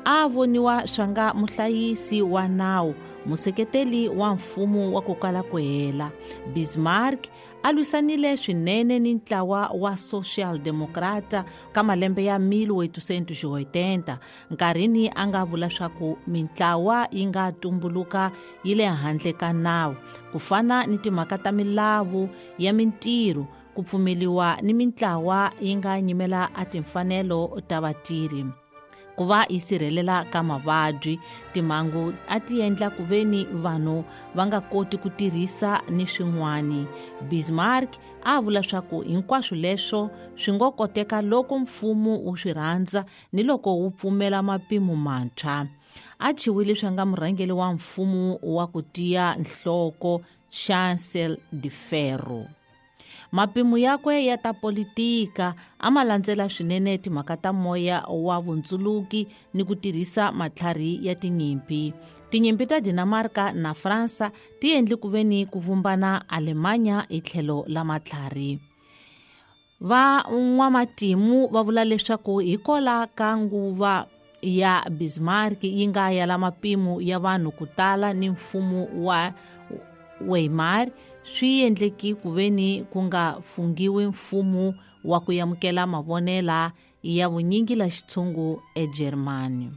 A voniwa swanga muhlayisi wa nawu, museketeli wa mfumo wa ku kala ku hela. Bismarck a lwisanile swinene ni ntlawa wa Social Democrata ka malembe ya 1880, nkarhini a nga vula swaku mintlawa yi nga tumbuluka yi le handle ka nawu, ku fana ni timhaka ta milawu ya mintirho, ku pfumeliwa ni mintlawa yi nga nyimela a timfanelo ta vatirhi, ku va yi sirhelela ka mavabyi. Timhangu a ti endla ku veni vanhu va nga koti ku tirhisa ni swin'wani. Bismarck a vula swaku hinkwaswo leswo swi ngo koteka loko mfumo wu swi rhandza ni loko wu pfumela mapimo mantshwa. A chiwile swa nga murhangeri wa mfumo wa ku tiya nhloko Chancel de Ferro. Mapimo yakwe ya ta politika a ma landzela swinene timhaka ta moya wa vundzuluki ni ku tirhisa matlhari ya tinyimpi. Tinyimpi ta Dinamarca na Fransa ti endle ku veni ku vumbana Alemanya hi tlhelo la matlhari. Va n'wamatimu va vula leswaku hikola ka nguva ya Bismarck yi nga ya la mapimo ya vanhu ku tala ni mfumo wa Weimar, swi endleki ku veni ku nga fungiwi mfumo wa ku amukela mavonela ya vunyingi la xitshungu eGermany.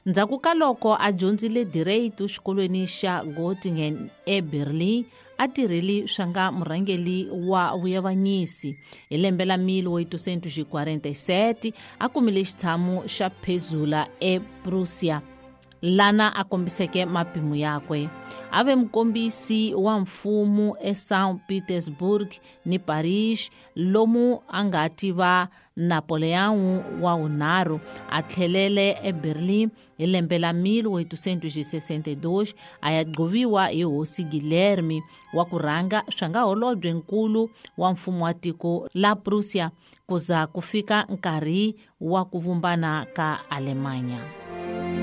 Ndzhaku ka loko a dyondzile direito xikolweni xa Göttingen eBerlin, a tirheli swa nga murhangeri wa vuyavanyisi. Hi lembe la 1847 a kumile xitshamo xa phezula ePrussia, lana a kombiseke mapimo yakwe. A ve mukombisi wa mfumo eSaint Petersburg ni Paris, lomu a nga tiva Napoleon wa vunharhu. A tlhelele eBerlin hi lembe la 1862 a ya gcoviwa hi hosi Guilherme wa ku rhanga swa nga holobye nkulu wa mfumo wa tiko la Prussia, ku za ku fika nkarhi wa ku vumbana ka Alemanya.